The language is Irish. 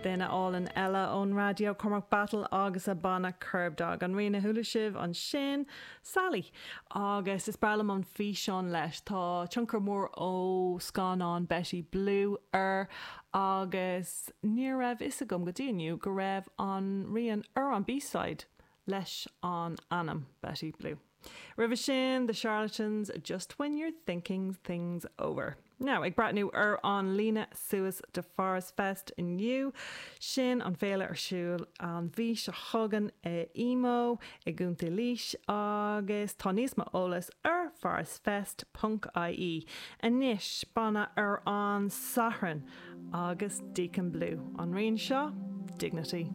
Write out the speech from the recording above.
Duine álainn eile ón raidió, Cormac Battle agus a banna Kerbdog. An rian a chuala sibh ansin, Sally. Agus is breá liom an físeán leis. Tá tionchar mór ó scannán Betty Blue air agus ní raibh fhios agam go dtí inniu go raibh an rian ar an B-side leis an ainm Betty Blue. Roimhe sin, The Charlatans, Just When You're Thinking Things Over. Now, ag breathnú ar an líne suas do Pháras Fest inniu, sin an féile ar siúl an mhí seo chugainn i Emo i gContae Laois agus tá níos mó eolas ar pharasfest ponc ie. Anois, banna ar an Satharn agus Deacon Blue, an rian seo, Dignity.